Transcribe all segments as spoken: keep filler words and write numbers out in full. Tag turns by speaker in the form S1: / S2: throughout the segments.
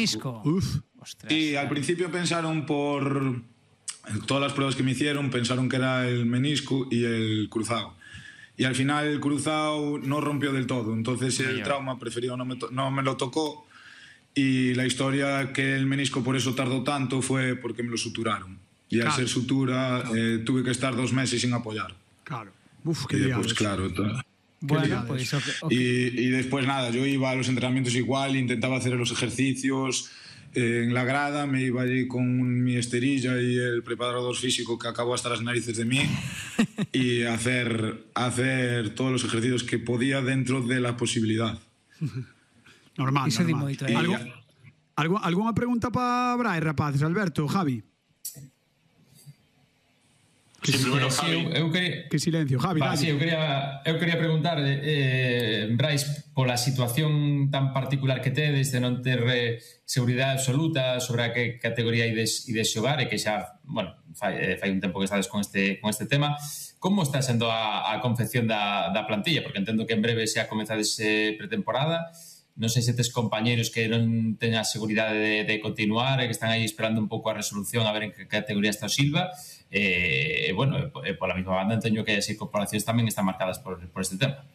S1: menisco.
S2: Uf.
S3: Y al principio pensaron por todas las pruebas que me hicieron, pensaron que era el menisco y el cruzado. Y al final el cruzado no rompió del todo, entonces el trauma preferido no me, no me lo tocó. Y la historia que el menisco por eso tardó tanto fue porque me lo suturaron. Y al ser sutura eh, tuve que estar dos meses sin apoyar.
S2: Claro. Uf, qué
S3: y después,
S2: liados.
S3: claro.
S1: Bueno, pues okay, okay.
S3: Y, y después nada, yo iba a los entrenamientos igual, intentaba hacer los ejercicios eh, en la grada, me iba allí con mi esterilla y el preparador físico que acabó hasta las narices de mí y hacer, hacer todos los ejercicios que podía dentro de la posibilidad.
S2: Normal,
S1: Iso
S2: normal.
S1: di moito, eh.
S2: Algo, algo, alguna pregunta para Brai, rapaces? Alberto, Javi?
S4: Que sí, primero, sí, Javi.
S5: Eu, eu quería,
S2: que silencio, Javi.
S5: Va, sí, eu quería, eu quería preguntar, eh, Brais, pola situación tan particular que tedes de non ter eh, seguridade absoluta sobre a que categoría ides, ides xogar e que xa, bueno, fai, fai un tempo que estades con este, con este tema. Como está sendo a, a confección da, da plantilla? Porque entendo que en breve xa comezades eh, pretemporada. Non sei se tes compañeros que non teñan a seguridade de, de continuar e que están aí esperando un pouco a resolución a ver en que categoría está o Silva. E, eh, bueno, eh, pola mesma banda entendo que as incorporacións tamén están marcadas por, por este tema.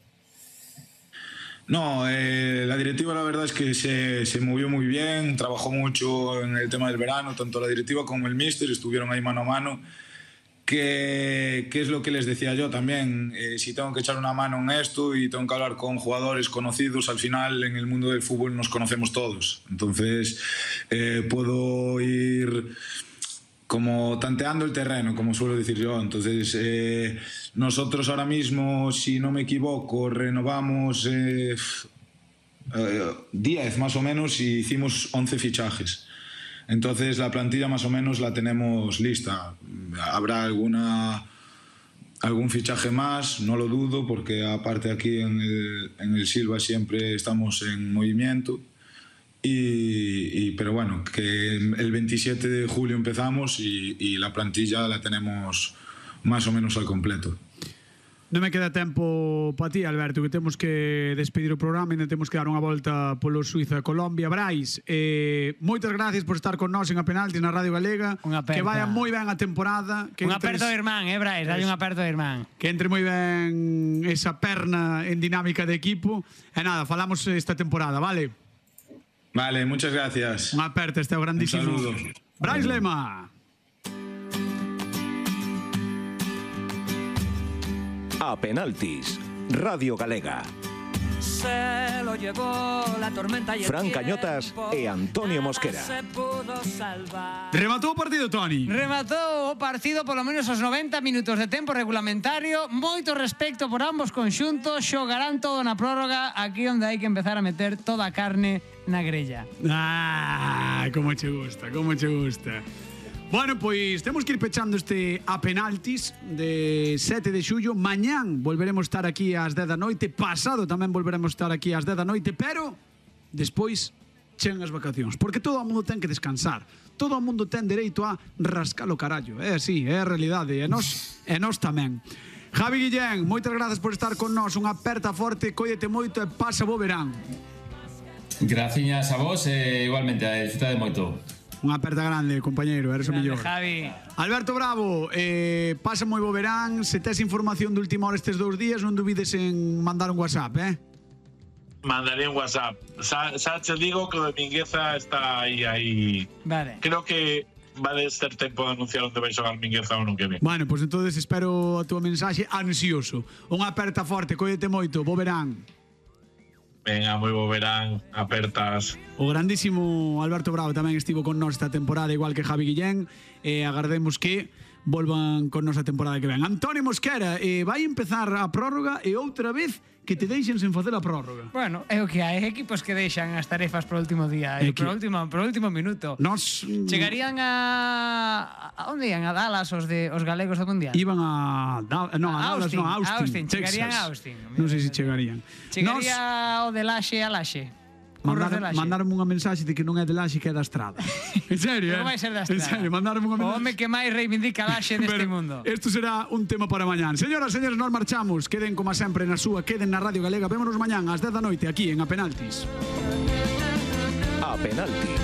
S3: No, eh, la directiva la verdad es que se, se movió muy bien, trabajó mucho en el tema del verano, tanto la directiva como el míster estuvieron ahí mano a mano. Que, que es lo que les decía yo también, eh, si tengo que echar una mano en esto y tengo que hablar con jugadores conocidos, al final en el mundo del fútbol nos conocemos todos, entonces eh, puedo ir como tanteando el terreno, como suelo decir yo. Entonces eh, nosotros ahora mismo, si no me equivoco, renovamos eh, eh, diez más o menos y hicimos once fichajes. Entonces la plantilla más o menos la tenemos lista. Habrá alguna algún fichaje más, no lo dudo, porque aparte aquí en el, en el Silva siempre estamos en movimiento. Y, y, pero bueno, que el veintisiete de julio empezamos y, y la plantilla la tenemos más o menos al completo.
S2: Non me queda tempo para ti, Alberto, que temos que despedir o programa e ainda temos que dar unha volta polo Suiza Colombia. Brais, eh, moitas gracias por estar con nós en A Penaltis na Radio Galega. Que vaya moi ben a temporada.
S1: Un aperto de irmán, eh, Brais, dalle un aperto de irmán.
S2: Que entre moi ben esa perna en dinámica de equipo. E nada, falamos esta temporada, vale?
S3: Vale, muchas gracias.
S2: Un aperto, este é o grandísimo.
S3: Un saludo.
S2: Brais Lema.
S6: A Penaltis, Radio Galega.
S7: Se lo llevó la tormenta y el
S6: Fran Cañotas e Antonio Mosquera.
S7: se pudo salvar.
S2: Rematou o partido, Toni.
S1: Rematou o partido polo menos os noventa minutos de tempo regulamentario. Moito respecto por ambos conxuntos. Xogarán todo na prórroga, aquí onde hai que empezar a meter toda a carne na grella.
S2: Ah, como che gusta, como che gusta. Bueno, pois temos que ir pechando este A Penaltis de sete de xullo. Mañán volveremos estar aquí ás dez da noite. Pasado tamén volveremos estar aquí ás dez da noite. Pero despois chegan as vacacións, porque todo o mundo ten que descansar. Todo o mundo ten dereito a rascar o carallo. É así, é a realidade. E nós, e nós tamén. Javi Guillén, moitas grazas por estar con nós. Unha aperta forte, cóllete moito e pasa bo verán.
S5: Graciñas a vos e igualmente a disfrutar de moito.
S2: Unha aperta grande, compañeiro, eres o mellor.
S1: Javi.
S2: Alberto Bravo, eh, pasa moi bo verán. Se tes información de última hora estes dous días, non dubides en mandar un WhatsApp, eh?
S4: Mandaré un WhatsApp. Sa, sa te digo que o de Mingueza está aí, aí.
S1: Vale.
S4: Creo que va a ser tempo de anunciar onde vai xogar Mingueza o non que ven.
S2: Bueno, pois pues entonces espero a túa mensaxe ansioso. Unha aperta forte, cóllete moito, bo verán.
S4: Venga, moi bo verán, apertas.
S2: O grandísimo Alberto Bravo tamén estivo con nós esta temporada, igual que Javi Guillén, e agardemos que volvan con nós a temporada que ven. Antonio Mosquera, eh, vai empezar a prórroga e outra vez que te deixen sen facer a prórroga.
S1: Bueno, é o que hai, equipos que deixan as tarefas pro último día, eh, pro último, pro último minuto.
S2: Nos
S1: chegarían a a onde ian? A Dallas os de os galegos do mundial.
S2: Iban a da, no, a, a Dallas,
S1: Austin,
S2: no, a Austin,
S1: Austin, chegarían
S2: Texas.
S1: a Austin.
S2: Non sei se chegarían.
S1: Chegaría Nos... o de Laxe a Laxe.
S2: Mandar, mandaronme unha mensaxe de que non é de Laxe, que é da Estrada. En serio,
S1: eh? Non vai ser da Estrada.
S2: En serio, mandaronme unha mensaxe.
S1: O home que máis reivindica Laxe neste mundo.
S2: Isto será un tema para mañán. Señoras, señores, nos marchamos. Queden como sempre na súa, queden na Radio Galega. Vémonos mañán ás dez da noite aquí en A Penaltis.
S6: A Penaltis.